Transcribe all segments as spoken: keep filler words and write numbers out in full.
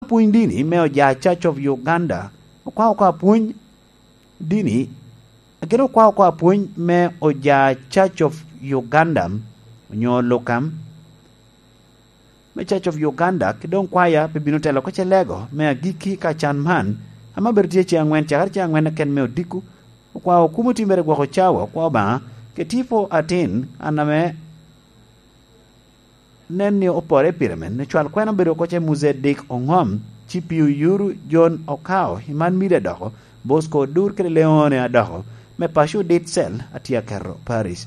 Pwony dini me oja Church of Uganda, okwao oko apwony dini, gin okwao oko apwony me oja Church of Uganda, onyo Lukam, me Church of Uganda, ki doŋ kwaya pe bino telo oko celego me agikki ka can man, ame obedo tye ceŋ aŋwen, cakere ceŋ aŋwen keken me odiko, okwao kumo timmere gwoko cawa, okwao Obaŋa, ke tipo atin, an ame nen ni opore pire men, ni cwal kwena obedo oko ce Muzedek Oŋom, ci Piu Yuru John Okao, Iman Mide adoko, Bosco Odur kede Leone adoko, me paco dit cel, atye aketo Paris.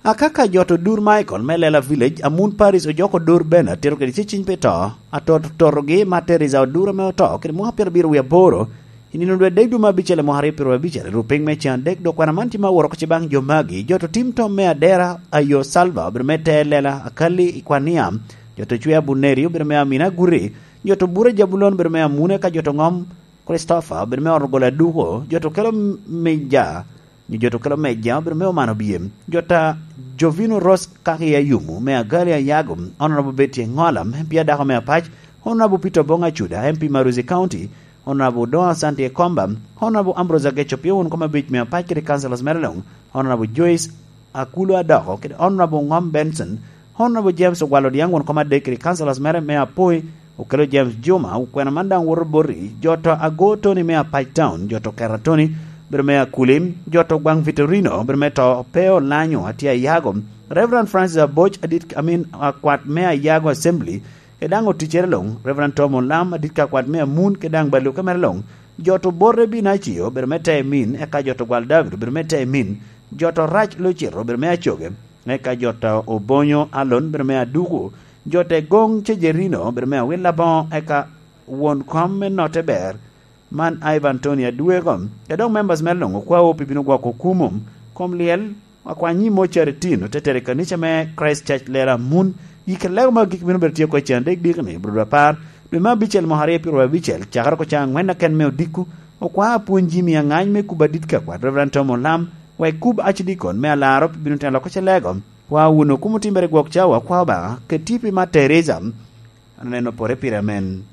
Akaka jo to Dur Michael me Lela Village, Amun Paris ojoko Dur Bena, tero kede ceciny pi to, atot totogi ma Teresa Odur ame oto, kede mwaka pyerabiro wie aboro, i nino dwe adek dwe me abicel i mwaka aryo pyeraryo abicel, i rupiny me cen adek, dok kwena man tye ma woro oko ce baŋ jo magi, jo to tim tom me Adera, Ayo Salva, obedo me te Lela, Akali i Kwania, jo to Cwea Buneri, obedo me Amina Guri, jo to Bura Jabulon, obedo me Amune, ka jo to Ŋom, Christopher, obedo me ot ogolo aduko, jo to kelo meja, nyo jo to kelo meja, obedo me omano biem, jo ta Jovino Ross kaki Ayumu, me Agali Ayago, Honorable Betty Engola, M P adako me Apac, Honorable Peter Bong Acuda, M P Maruzi County, Honorable Don Asante Ekomba, Honorable Ambrose Ageco Pio won kom abic me Apac kede councillors mere luŋ, Honorable Joyce Akulo Adoko, kede Honorable Ngom Benson, Honorable James Ogwal Odiaŋ won kom adek kede councillors mere me Apoi, Okelo James Juma, okwena man daŋ woto boti, jo to Ago Tony me Apac Town, jo to Kera Tony, bedo me Akuli, jo to Gwaŋ Vitorino, bedo me to Peo Lanyo, atye Ayago, Reverend Francis Aboc, adit, I mean, akwat me Ayago Assembly, kede daŋ oticere luŋ, Reverend Tom Olam, adit ka akwat me Amun, kede daŋ Baluke mere luŋ, jo to Bote Binacio, bedo me Temin, eka jo to Gwal David, bedo me Temin, jo to Rac Lucito, bedo me Acoge, eka jo to Obonyo Alon, bedo me Aduku, jo te Goŋ Cejerino, bedo me Awil Aboŋo, eka won kom me notte ber, man Ivan Tony Adweko, kede dok members mere luŋ okwawo pi bino gwoko kumo, kom lyel, akwanyi mocari tin otetere i kanica me Christ Church Lera Mun, i kede lego ma gik bino bedo tye oko i cen adek diki ni, Brodo Apar, dwe me abicel mwaka aryo pyeraryo abicel, cakere oko ca aŋwen aken me odiko, okwa apwony Jimmy Angany me kubo adit ka kwat Reverend Tom Olam, wek kub Archdeacon me Alaro pi bino telo oko celego, kwa wun okumo timmere gwok cawa, kwa Obaŋa, keti pi ma Teresa, aneno pore pire amen.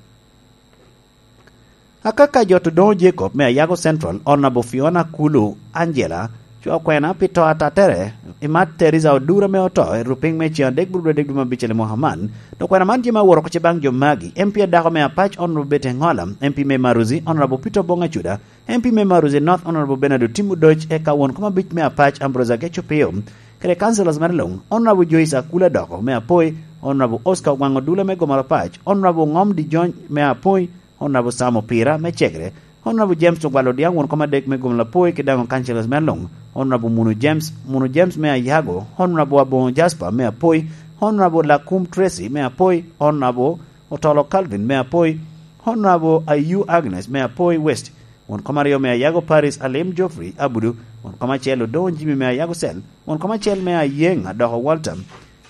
Akaka jo to Doŋo Jacob me Ayago Central, Honorable Fiona Kulu Angela, cwa kwena pi to atattere, i mat Teresa Odura me oto, i rupiny me cen adek buru dwe adek dwe me abicel i mwaka man, dok kwena man tye ma woro oko ce baŋ jo magi, M P adako me Apac, Honorable Betty Engola, M P me Maruzi, Honorable Peter Bong Acuda, M P me Maruzi North, Honorable Bernard Otim Odoc, eka won kom abic me Apac, Ambrose Ageco Pio, kede councillors mere luŋ, Honorable Joyce Akula Doko me Apoi, Honorable Oscar Ogwaŋ Odula me Gomoro Apac, Honorable Ŋom Dijony me Apoi, Honorable Sam Opira me Cegre, Honorable James Ogwal Odiaŋ won kom adek me Gomoro Apoi, kede daŋ councillors mere luŋ, Honorable Munu James, Munu James me Ayago, Honorable Aboŋo Jasper me Apoi, Honorable Lakum Tracy me Apoi, Honorable Otolo Calvin me Apoi, Honorable Ayu Agnes me Apoi West, won kom aryo me Ayago Paris Alim Geoffrey Abudu, won kom acel Odoŋo Jimmy me Ayago Cell, won kom acel me Ayeŋ Adoko Walter,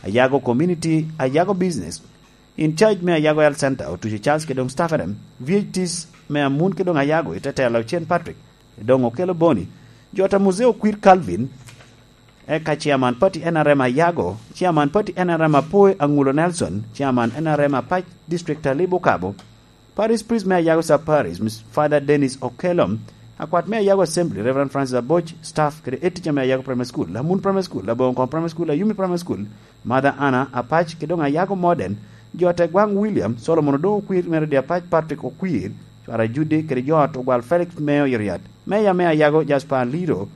Ayago Community, Ayago Business, in charge me Ayago Health Center, Otuco Charles kede doŋ staff ene, V H Ts me Amun kede doŋ Ayago, i te telo Cen Patrick, kede doŋ Okelo Boni, jo ta Muzee Okwir Calvin, eka Chairman Party N R M Ayago, Chairman Party N R M Apoi Aŋulo Nelson, Chairman N R M Apac District Talib Okabo, Parish Priest me Ayago Sub Parish, Miss Father Dennis Okello, akwat me Ayago Assembly, Reverend Francis Aboc, staff, kede head teacher me Ayago Primary School, Amun Primary School, Labongo Primary School, Ayumi Primary School, Mother Anna Apac, kede doŋ Ayago Modern, jo te Gwaŋ William, Solomon Odoŋo Okwir, Mary Apac, Patrick Okwir, Cwara Judy, kede jo ot Ogwal Felix me Oyoriat, Meya me Ayago Jasper Liro,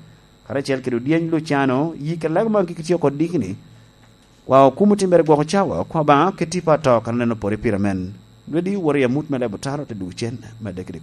karacel kede Odyeny Luciano, yi kede lego ma gik tye oko dikni, wa okumo timmere gwoko cawa, kwa Obaŋa keti pa to kan oneno pore pire men. Lwedi woro i amut me lebo taro te duk cen, medde kede